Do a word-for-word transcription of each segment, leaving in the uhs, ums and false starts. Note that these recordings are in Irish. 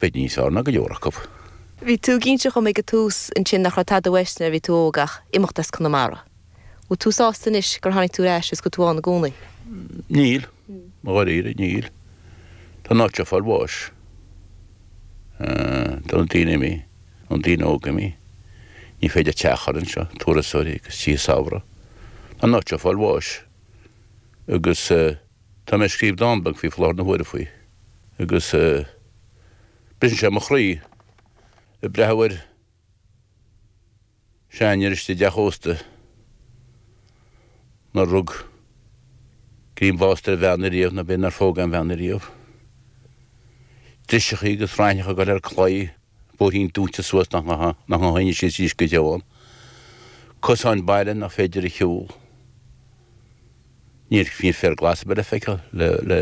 B'fhéidir níos fearr ná go leor acu. Bhí tú ag inse dhom ag an tús ansin nach raibh tada uait nuair a bhí tú óg ach imeacht as Conamara. Bhfuil tú sásta anois gur tháinig tú ar ais is go bhfuil tú ann i gcónaí? Níl, mo dháiríre, níl. Tá an áit seo ag fáil bháis. Tá na daoine imithe, na daoine óga imithe. Ní féidir teach a chur anseo, turasóirí agus tithe samhraidh. Tá an áit seo ag fáil bháis. Agus tá mé ag scríobh dán beag faoi láthair na huaire faoi. Agus briseann sé mo chroí ag breathnú ar seanfhear istigh i dteach ósta nár rug greim bhásta ar bhean ariamh nó b'fhéidir nár phóg aon bhean ariamh. Driseachaí agus raithneacha ag dul ar claí, bóithrín dúinte suas nach ngabhfadh éinne síos arís go deo ann. Cosáin baile nach féidir a shiúl. Níl níl féar glas ar bith le feiceáil le le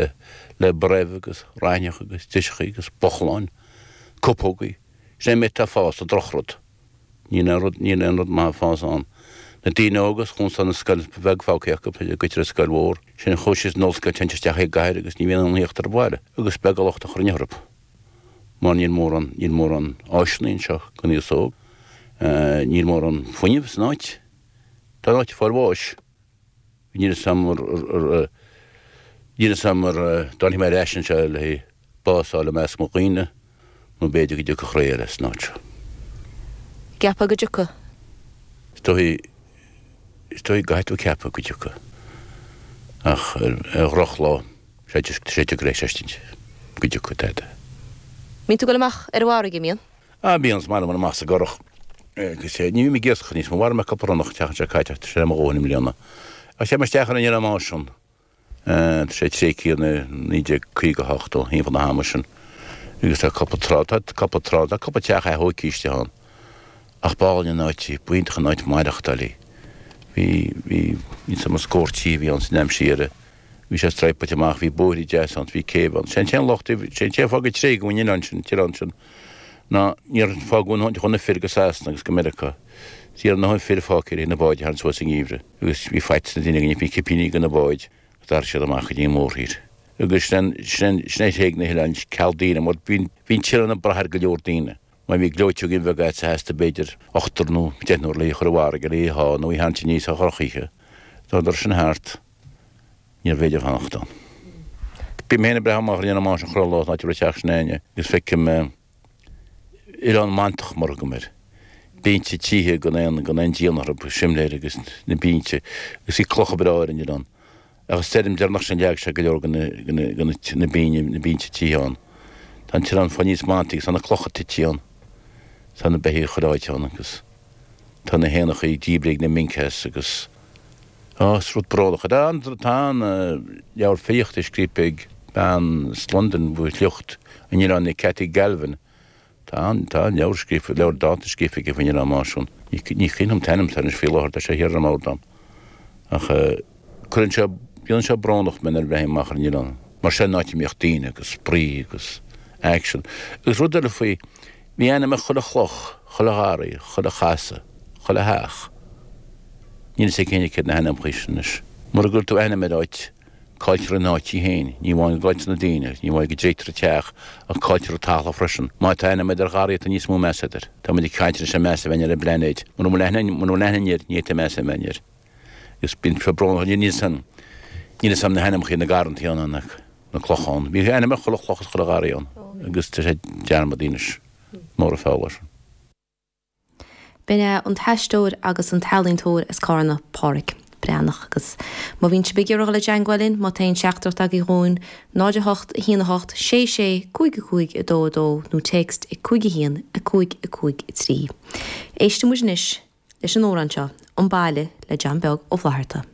le broibh agus raithneach agus driseachaí agus bochláin, cupógaí. Sin é an méid atá ag fás, an drochrud. Níl aon rud, níl aon rud maith ag fás ann. Na daoine óga, chúnsa na scoil bheag fágtha acu, goitire scoil mhór. Sin chuaigh siad san ollscoil, téann siad isteach i gcathair agus ní bhíonn aon theacht ar bhaile. Agus beag an locht a chuirfinn orthu. Mar níl mórán, níl mórán áiseanna anseo don aos óg. Níl mórán fuinnimh san áit. Tá an áit ag fáil bháis. Níl fhios a'm ar, ar, ar, níl fhios a'm ar dtáinig mé ar ais anseo le haghaidh bás a fháil i measc mo dhaoine. Nó b'fhéidir go dtiocfadh ré eile san áit seo. Ceapfá go dtiocfadh? Is dóigh, is dóigh go gcaithfidh tú ceapadh go dtiocfadh. Ach ar dhrochlá, sé sé deacair é a chreidstint go dtiocfadh tada. Mbíonn tú ag dul amach ar an bhfarraige, mbíonn? Ah, bíonn, is maith liom dul amach sa gcurach. Agus ní bhím ag iascach níos mó. Mharaigh mé cúpla ronnach an tseachtain seo caite ach tá sé le mo dhóthain i mbliana. Ach téim isteach ar an Oileán Máisean. Tá sé tréigthe ó naoi déag caoga a hocht ó thimpeall na hama sin agus tá cúpla trá, tá cúpla trá, tá cúpla teach athóigthe istigh ann. Ach b'álainn an áit í, b'iontach an áit maireachtáil í. Bhí, bhí, níl 's agam an scór tí a bhí ann san am siar. Bhí sé striapáilte amach, bhí bóithre deasa ann, bhí céibh ann. Sé an t-aon locht, sé an t-aon fáth gur tréigeadh an oileán sin, an t-oileán sin, ná níor fágadh a ndóthain de na fir go Sasana agus go Meiriceá. Ní raibh a ndóthain fir fágtha le na báid a tharraingt suas sa ngeimhreadh agus bhí faitíos ar na daoine go n-íocfaí cipíní do na báid. D'athraigh siad amach go dtí an mórthír. Agus sin sin sin é thréig na hoileáin ceal daoine mar bhí bhí an t-oileán ag brath ar go leor daoine. Má bhí gleoiteoigín bheag agat theastaigh b'fhéidir ochtar nó deichniúr le í a chur i bhfarraige le í a shá nó í a tharraingt aníos ar dhrochoíche. Dá dturas sin thart níorbh fhéidir fanacht ann. Bím féin ag breathnú amach ar an Oileán Máisean chuile lá san áit a raibh teach s'againne agus feicim Oileán mantach mar a thugaim air. Bínte tithe gan aon gan aon díon orthu, simléir agus na bínte agus bhí clocha breá ar an oileán. Ach an stoirm deireanach sin leag sé go leor de na de na na bínne na bínte tithe ann. Tá an t-oileán fáil níos mantaí agus tá na clocha tite ann. Tá na beithígh chuile áit ann agus tá na héanachaí díbrithe ag na minc as agus á is rud brónach é. Tá an tá an leabhar filíochta scríofa ag bean as Londain faoi shliocht an oileáin Cathy Galvin. Tá an, tá an leabhar scríofa, leabhar dánta scríofa aici faoin Oileán Máisean. Ní, ní cuimhin liom an t-ainm atá anois faoi láthair, tá sé thiar ar an mbord agam. Ach cuireann sé, déanann sé brónach mé nuair a bhreathnaím amach ar an oileán. Mar sin an áit a mbíodh daoine agus spraoi agus aicsean. Agus rud eile faoi, bhí ainm ag chuile chloch, chuile gharraí, chuile chasadh, chuile theach. Níl fhios ag éinne céard na hainmneacha sin anois. Mura gcuir tú ainm ar áit, Cailltear an áit í féin. Ní amháin go gcailltear na daoine, ní amháin go dtréigtear an teach, ach cailltear an talamh freisin. Má tá ainm agat ar gharraí tá níos mó meas agat air. Tá muid ag caint anois ar meas a bheith ar an bplainéid. Mura bhfuil aithne, mura bhfuil aithne air, ní fhéadfaidh meas a bheith air. Agus bíonn sé brónach, níl fhios a'm, níl fhios a'm na hainmneacha na garrantaí ann, na, na clocha ann. Bhí ainm ar chuile chloch is chuile gharraí ann agus tá sé dearmadta anois. Mór an feall é sin. B'in é an t-aisteoir agus an t-ealaíontóir as Cárna, Páraic Breathnach. Agus má bhíonn sibh ag iarraidh dul i dteangmháil linn, má tá aon teachtaireacht agaibh dhúinn, náid a hocht, a haon a hocht, sé sé, cúig a cúig, a dó a dó nó téacs ag cúig a haon, a cúig a cúig a trí. Éistfidh muid anois leis an amhrán seo, An Baile le John Beag Ó Flatharta.